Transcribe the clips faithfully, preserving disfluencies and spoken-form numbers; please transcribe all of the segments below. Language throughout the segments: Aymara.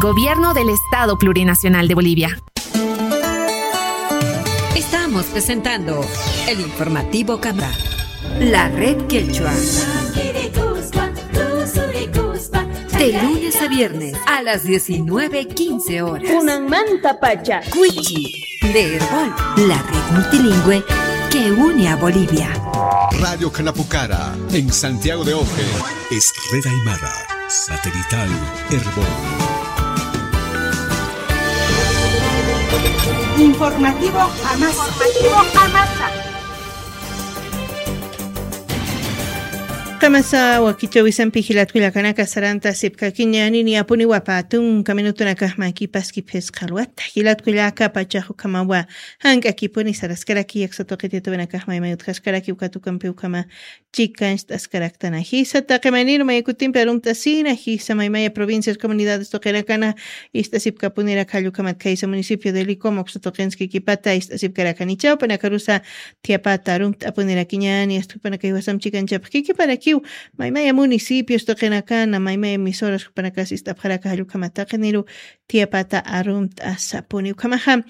Gobierno del Estado Plurinacional de Bolivia. Estamos presentando el informativo Cámara. La red quechua. De lunes a viernes a las diecinueve quince horas. Kunanmantapacha. Cuichi, de Erbol, la red multilingüe que une a Bolivia. Radio Canapucara, en Santiago de Oje. Es red aymara, satelital, Erbol. Informativo Amasa. Informativo Amasa. Qamasa wakichäwisampi jilat kullakanaka, sarantasipkakiñäni, niyapuniwa pä tunka minutunakax makipaskipxisqa alwata. Jilat kullaka, pachax ukhamawa jank'akipuni saraskaraki, aksa tuqit yatawinakax maymay utjaskaraki, ukat ukampi ukhama chikancht'askaraktana. Jisa taqi mayniru maya kutimpi arumt'asina, jisa maymaya provincias, comunidades tuqinakana ist'asipkapunirak, jall ukhamat khaysa municipio de Licoma uksa tuqinskikipata ist'asipkarakani. Chawpanakarusa thiyapata arumt'apunirakiñäni, asta jupanaka jiwasam chikanchapxi kikiparakiw, maymaya municipios tuqinakana, maymaya emisoras jupanakas ist'apxaraka jall ukhamat taqiniru thiyapata arumt'asapuni. Ukhamaxa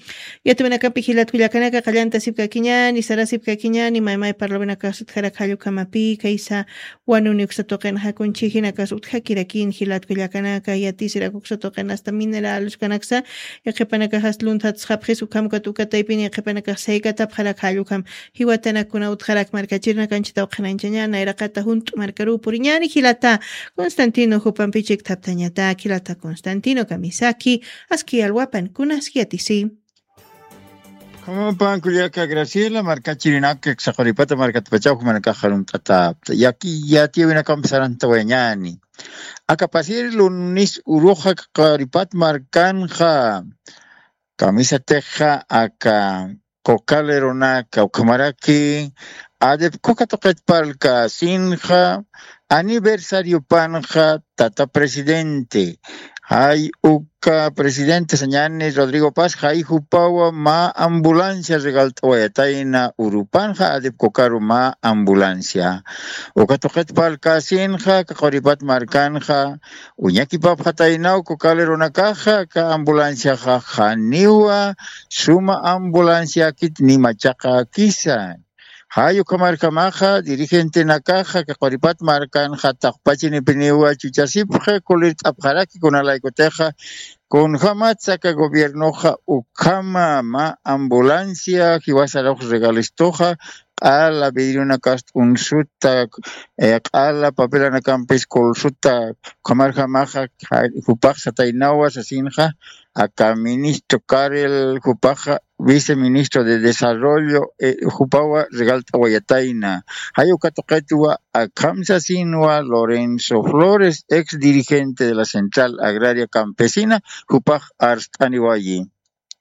yatawinakampi jilat kullakanaka, qallantasipkakiñäni, sarasipkakiñäni, maymay parlawinakas utjarak jall ukhamapï, khaysa wanuni uksa tuqinxa kunchhijinakas utjakirakin jilat kullakanaka, yatisirak uksa tuqin asta mineral uskanaksa, yaqhipanakaxas lunthatsxapxis, ukham ukat uka taypini yaqhipanakax saykatapxarak jall ukham. Jiwatanak kuna utjarak markachirinaka anchhitaw qhanañchañäni, nayraqata junt'u markaruw puriñäni jilata Constantino, jupampi chikthaptañatak jilata Constantino kamisaki, aski alwapan kunas yatisi. Ukhamapan kullaka Graciela, markachirinak aksa Quripata markatapachaw jumanakax arumt'atäpxta. Yaki yatiyäwinakamp sarantawayañäni. Aka pasir lunis uruxa Quripat markanxa kamisatixa aka Coca Lerona kawkhamaraki, ADEPCOCA tuqit parlkasinxa, aniversariopanxa tata presidente, jay uka presidente sañäni Rodrigo Paz, jay jupawa mä ambulancia regalt'awayatayna urupanxa, ADEPCOCAru mä ambulancia. Uka tuqit parlkasinxa, aka Quripat markanxa, uñakipapxataynaw Coca Leronakaxa, aka ambulanciaxa janiwa suma ambulanciakit ni machaqäkisa. Jay ukhamarjamaxa dirigentenakaxa aka Quripat markanxa taqpachinipiniwa chuchasipxi, kulirt'apxaraki kunalaykutixa kunjamatsa aka gobiernoxa ukhama mä ambulancia jiwasarux regalistuxa, q'ala vidrionakast unsuta, eh, q'ala papelanakampi kulsuta, ukhamarjamaxa jupax sataynawa sasinxa, aka ministro Carel, jupaxa viceministro de Desarrollo, eh, jupawa regalt'awayatayna. Jay uka tuqitwa akham sasinwa Lorenzo Flores, ex dirigente de la Central Agraria Campesina, jupax arst'aniwayi.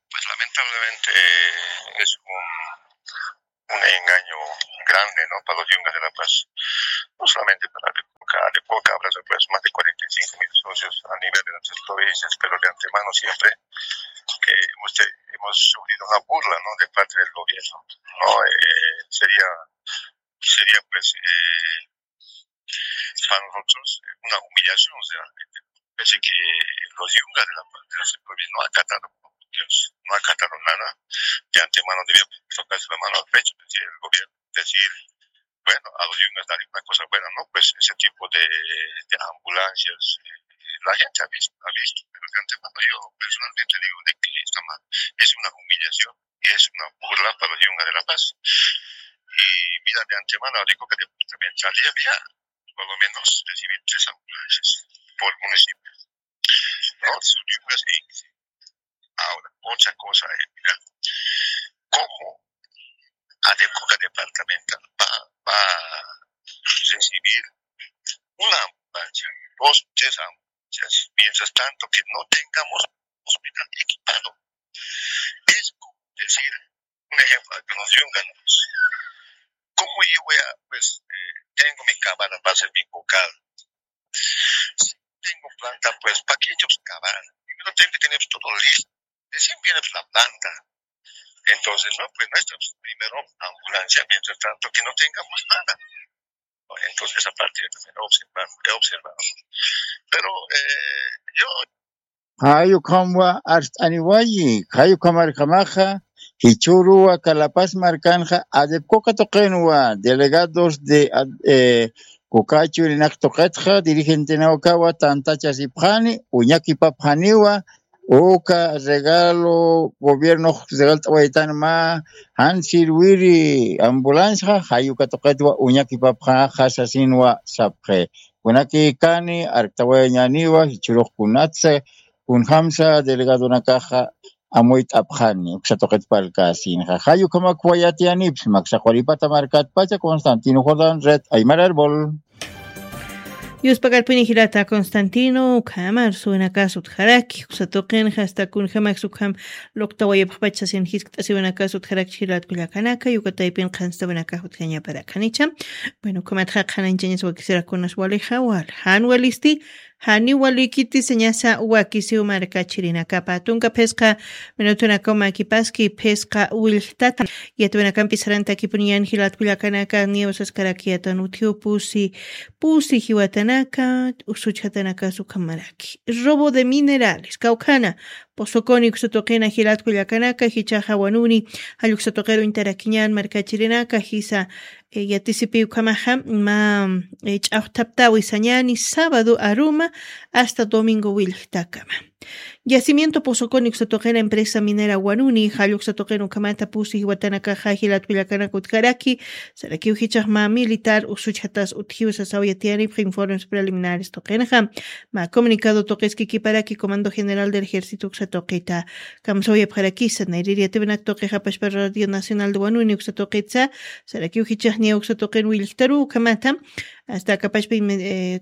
Pues lamentablemente, eh, es un, un engaño grande, ¿no? Para los yungas de La Paz. No solamente para ADEPCOCA, ADEPCOCA abraza, pues, más de cuarenta y cinco mil socios a nivel de nuestras provincias, pero de antemano siempre, eh, hemos, te- hemos sufrido una burla, ¿no? De parte del gobierno, ¿no? Eh, sería, sería, pues, eh, para nosotros una humillación, o sea, pese que los yungas de La Paz, de las provincias no acataron, no acataron nada, de antemano debía tocarse la mano al pecho, decir el gobierno, decir, bueno, a los yungas darle una cosa buena, ¿no? Pues ese tipo de, de ambulancias, eh, la gente ha visto, ha visto, pero de antemano yo personalmente digo de que está mal, es una humillación y es una burla para los yungas de La Paz. Y mira, de antemano digo que departamental ya había por lo menos recibir tres ambulancias por municipio. No, son yungas. Ahora, otra cosa, eh, mira, ¿cómo ADEPCOCA departamental va, va a recibir una ambulancia, dos, tres ambulancias, mientras tanto que no tengamos hospital equipado? Es como decir, un ejemplo, que nos dio un ganado. ¿Cómo yo voy a, pues, eh, tengo mi cabana para hacer mi cocal? Si tengo planta, pues, ¿para qué yo cavar? Primero tengo que tener todo listo. Recién viene, pues, la planta. Entonces, no, pues, nuestra, pues, primero ambulancia, mientras tanto que no tengamos nada. Entonces, esa parte yo también he observado, he observado. Pero, eh, yo Jayukhamwa arst'aniwayi, jayukhamarjamaxa, jichuruwa Kalapas markanxa adepcoca tuqinwa delegados de eh, kukachu rinaq tuqitxa dirigentenawkawa tantachasipxani, uñakipapxaniwa, uka regalo gobiernox regalt'awaytan mä jan sirwiri ambulanciaxa jayuka tuqitwa uñakipapxaxa sasinwa sapxi. Kunakïkani arktawayñäniwa jichhürux kunatsa kunjämsa delegadonakaxa amuyt'apxani uksa tuqit parlkäsinxa. Jayukhamakwa yatiyänipxsma aksa quripata markatpacha. Constantino Jordán, Red Aymar Árbol. Yuspakarpini jilata Constantino ukhama arsuwinakas utjaraki uksa tuqinxa hasta kunjamax ukham luqtawayapxpacha sasin jiskt'asiwinakas utjarakchi jilat kullakanaka yukataypin qhanstawinakax utjañaparakanicha. Bueno, ukhamatxa qhananchañas wakisirakunas walixa wal jan walisti janiw walikiti sañasa wakisiw markachirinakapa tunka phisqa minutunakaw makipaski phisqa willtata. Yatwinakampi sarantakipuniñan jilat kullakanaka niwsaskarakiyatan utjiw pusi pusi jiwatanaka usuchjatanaka sukhamaraki robo de minerales kawkhana. Pozoconi uksa tuqina jilat kullakanaka jichaxa wanuni jall uksa tuqiru uñtarakiñan markachirinaka jisa. Yatisipi ukhamaxa mä ch'axthaptawi sañani sábado aruma hasta domingo willktakama. Yacimiento Pozoconi uksa tuqina empresa minera wanuni jall uksa tuqina ukhamata pusi jiwatanakaxa jilat kullakanaka utjaraki. Sarakiw jichax mä militar usuchjatas utjiw sasaw yatiyanipxa informes preliminares tuqinxa. Mä comunicado tuqiskikiparaki comando general del ejército uksa tuqita kamsawayapxarakisa nayrir yatiwinak tuqixapashpa radio nacional de wanuni uksa tuqitsa. Sarakiw jichaxniya uksa tuqin willktaru ukhamata hasta akapashpa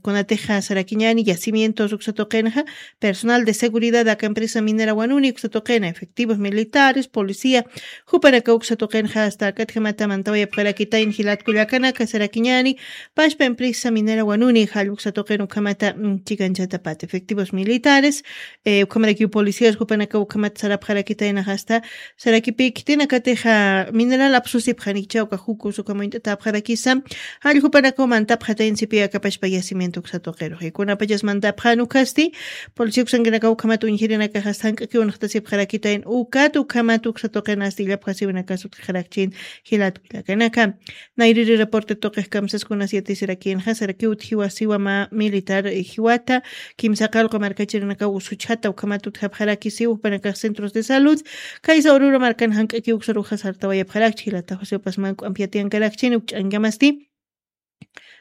kunatixa sarakiñani yacimientos uksa tuqinxa. Personal de seguridad aka empresa minera wanuni uksa tuqina efectivos militares policía jupanaka uksa tuqinxa hasta akatjamata mantawayapxarakitayn jilat kullakanaka sarakiñani. Pashpa empresa minera wanuni jall uksa tuqin ukhamata chikanchatapat efectivos militares ukhamarakiw policías jupanaka ukhamata sarapxarakitaynax hasta sarakipi khitinakatixa mineral apsusipxanikichawka jukus ukhamuñt'atapxarakisa. Jall jupanakaw mantapxatayn sipi akapashpa yacimiento uksa tuqirux ikunapachas mantapxan ukhasti policía uksankanakaw ukhamat uñjirinakax hasta jank'akiw unxtasipxarakitayn ukat ukhamat uksa tuqin hasta illapxasiwinakas utjixarakchin. Jilat kullakanaka nayriri reporte tuqix kamsaskunas yatisirakinxa sarakiw utjiwasiwa mä militar jiwata kimsa qalqu markachirinakaw usuchjata ukhamat utjapxarakisiw jupanakax centros de salud. Kaysa urura markan jank'akiw uksaruxa sartawayapxarakchi jilata josé upas mank'u ampi yatiyankarakchini ukch'ankamasti.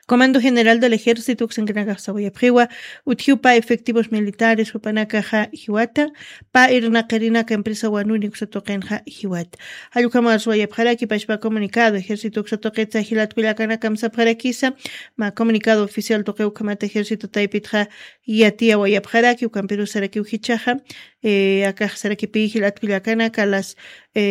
Comando general del ejército uksankanakax sawayapxiwa utjiw pä efectivos militares jupanakaxa jiwata pä irnaqirinaka empresa wanuni uksa tuqinxa jiwata. Jall ukhama arsuwayapxaraki pashpa comunicado ejército uksa tuqitsa jilat kullakanakam sapxarakisa. Mä comunicado oficial tuqi ukhamat ejército taypitxa yatiyawayapxaraki ukampirus sarakiw jichaxa akax sarakipi jilat kullakanaka las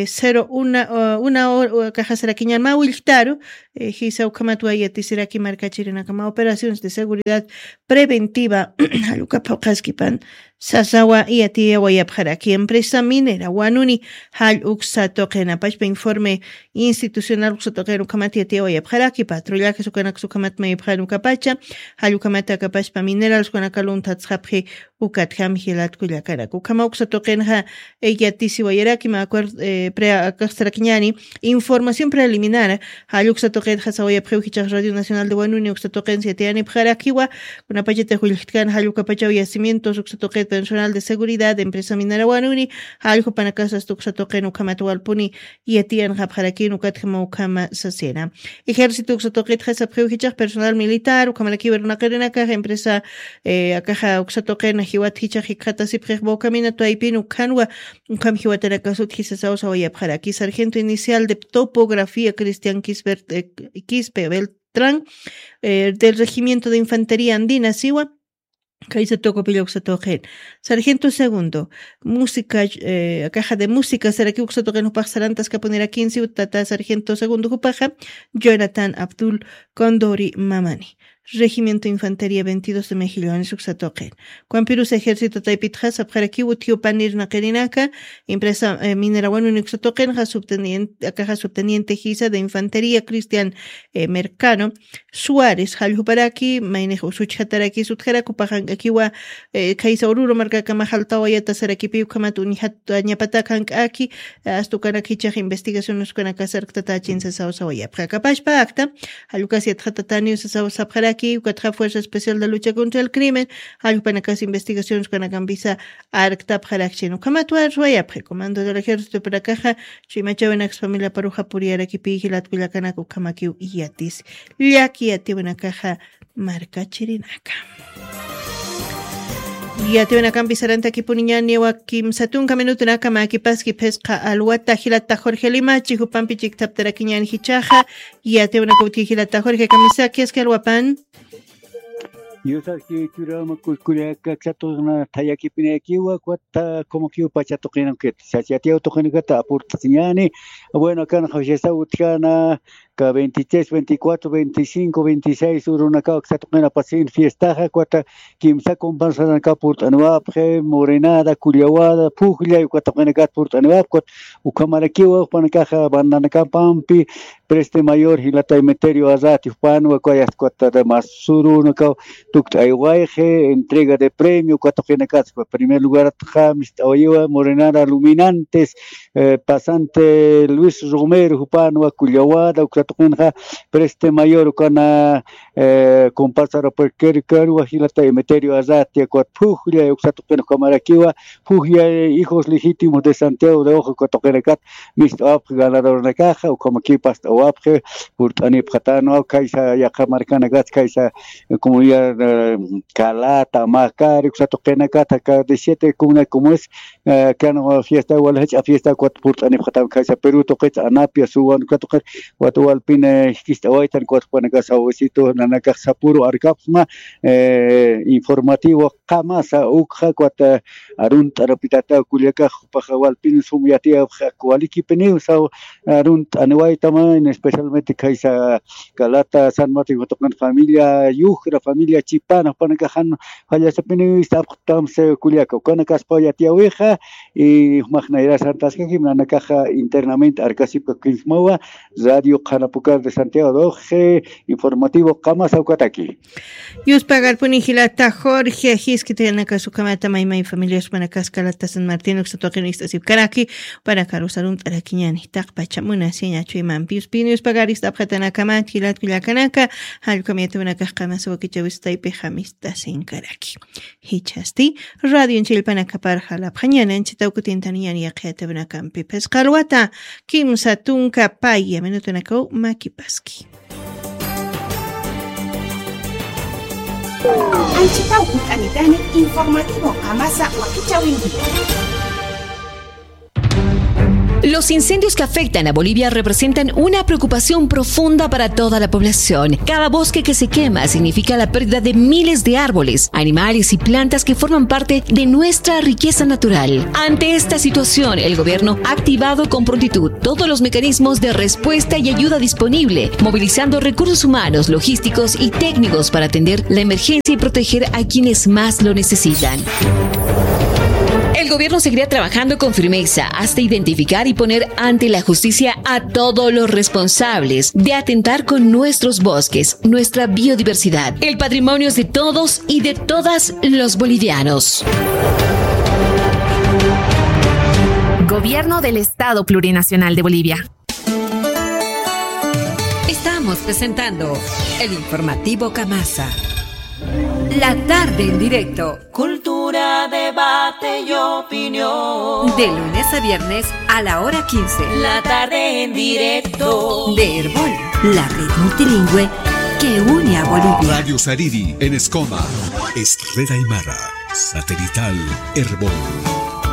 cero una una hora akaxa sarakiñan mä willktaru jisa ukhamatwa yatisiraki markachirinaka mä operaciones de seguridad preventiva jall uka phuqhaskipan sasawa yatiyawayapxaraki empresa minera wanuni jall uksa tuqina pashpa informe institucional uksa tuqina ukhamat yatiyawayapxaraki patrullajes ukanaksa ukhamat mayapxan ukapacha jall ukhamat akapashpa minerals ukanaka lunthatsxapxi. Ukatjam jilat kullakanak ukhama uksa tuqinxa yatisiwayaraki mä acuerdo pre akax sarakiñani información preliminar jall uksa tuqitxa sawayapxiw jichax radio nacional de wanuni uksa tuqinsa yatiyanipxarakiwa. Kunapachatix willktkän jall ukapachaw yacimientos uksa tuqit personal de seguridad empresa minera wanuni jall jupanakasasta uksa tuqin ukhamat walpuni yatiyanxapxarakin ukatjama ukhama sasina. Ejército uksa tuqitxa sapxiw jichax personal militar ukhamarakiw irnaqirinakax empresa akaxa uksa tuqin jiwat jichax jikxatasipxix bocamina tuwaypin ukhanwa ukham jiwatanakasut jisasaw sawayapxaraki sargento inicial de topografía cristian quispe beltrán del regimiento de infantería andina siwa. Kaysa tukupillaw satuqin sargento segundo música caja de música sarakiw satuqin jupax sarantaskapunirakinsiw tata sargento segundo jupaxa jonathan abdul condori mamani. Regimiento Infantería veintidós de Mejillones uksa tuqin. Ukampirus ejército taypitxa sapxarakiw utji upanir naqirinaka, empresa, eh, minera Wanuni uksa tuqinxa subteniente, akaxa subteniente jisa de infantería Cristian, eh, Mercano Suárez, jalljuparaki, maynix usuchjataraki sutjarak upaxank'akiwa, eh, khaysa ururu markakama jaltawayata sarakipi ukhamat uñjat, ñapatak jank'aki, eh, astukanak jichax investigaciones ukanaka sarktatachin sasaw sawayapxa. Akapachpa akta, jallukas yatxatataniw sasaw sapxaraki, ukatxa Fuerza Especial de Lucha contra el Crimen, jallupanakas investigaciones ukanakampisa arktapxarakchin. Ukhamat warwayapxi, Comando del Ejército panakaxa, chuymachawinaks familiaparuxa puriyarakipi jilat kullakanaka ukhamakiw yatis. Llaki yatiwanakaxa markachirinaka. Yatiwinakampis sarantakipuniñäni kimsa tunka minutunaka mäkipaski phisqa alwata jilata Jorge Limachi, jupampi chiktaptarakiñäni jichhaxa. Yatiwinaka utji jilata Jorge, kamisaki aski alwapan. Yusaski churama kullaka, aksa tuqina thayakipinakiwa, ukat como que pacha tuqinakit. Sas yatiw tuqinakata apurt'asiñäni. Bueno, akan jawsisa utjana, ka veintitrés, veinticuatro, veinticinco, veintiséis urunakaw aksa tuqina pasin fiestaxa, ukat kimsa comparsaranakas purt'aniwapxi, morenada, kullawada, pujllay, uka tuqinakat purt'aniwapxi, ukat ukhamarakiwa jupanakaxa bandanakapampi, Preste Mayor jilata Emeterio Arrati jupanwa, ukat ukat mas urunakaw tukt'aywayxi, entrega de premio, uka tuqinakat, ukat primer lugaratxa mist'awayiwa, morenada Luminantes, eh, pasante Luis Romero jupanwa, kullawada, uksa tuqinxa, Preste Mayor, ukana, eh, comparsara puerquerkarwa jilata Emeterio Arratia, ukat pujlla, uksa tuqin ukhamarakiwa, pujlla, hijos legítimos de Santiago de Ojo, uka tuqinakat, mist'awapxi ganadoranakaxa, ukhamakiw past'awapxi, purt'anipxatanwa, khaysa yaqha markanakats, khaysa, eh, comunidad, eh, Calata, Macari, uksa tuqinakat, aka de siete comunidad como es, eh, kan fiesta, wal jach'a fiesta, ukat purt'anipxatam khaysa Perú tuqit, Anapia, Suwan, uka tuqit, ukat walpin, eh, jikist'awaytan, ukat jupanakax sawisitu, nanakax sapüru arkapxma, eh, informativo qamasa ukxa, ukat, eh, arunt'arapitata kullakax, jupaxa walpin sum yatiyapxa, walikipiniw saw, arunt'aniwaytama, en especialmente khaysa Calata, San Martín, uka tuqin familia, Yucra familia, Chipana, jupanakax jan fallasipiniw sapxtamsa kullaka, ukanakaspaw yatiyawixa, y jumax nayra sartaskakim, nanakaxa internamente arkasipkakinsmawa, Radio Qhanapucar de Santiago de Oje, informativo qamasa ukataki. Yuspagarpuni jilata Jorge, jiskitanakas ukhamata maymay familias, jupanakax Calata, San Martín, uksa tuqin ist'asipkaraki, jupanakaru arunt'arakiñäni, taqpacha munasiña chuymampi. Yuspini, yuspagaris t'apxatanakamat, jilat kullakanaka, jallukam yatiwanakax qamasa wakichäwis taypixa mist'asinkaraki. Jichhasti, radion chillpanakapar jalapxañäni, anchhitaw kutintaniñäni yaqha yatiwinakampi. Phisqa alwata, kimsa tunka paya minutunakaw mäkipaski. Anchhitaw kut'anitani informativo qamasa wakichäwinki. Los incendios que afectan a Bolivia representan una preocupación profunda para toda la población. Cada bosque que se quema significa la pérdida de miles de árboles, animales y plantas que forman parte de nuestra riqueza natural. Ante esta situación, el gobierno ha activado con prontitud todos los mecanismos de respuesta y ayuda disponible, movilizando recursos humanos, logísticos y técnicos para atender la emergencia y proteger a quienes más lo necesitan. El gobierno seguirá trabajando con firmeza hasta identificar y poner ante la justicia a todos los responsables de atentar con nuestros bosques, nuestra biodiversidad. El patrimonio es de todos y de todas los bolivianos. Gobierno del Estado Plurinacional de Bolivia. Estamos presentando el informativo Kamasa. La tarde en directo. Cultura, debate y opinión. De lunes a viernes a la hora quince. La tarde en directo. De Erbol, la red multilingüe que une a Bolivia. Radio Sariri en Escoma. Es red aymara. Satelital Erbol.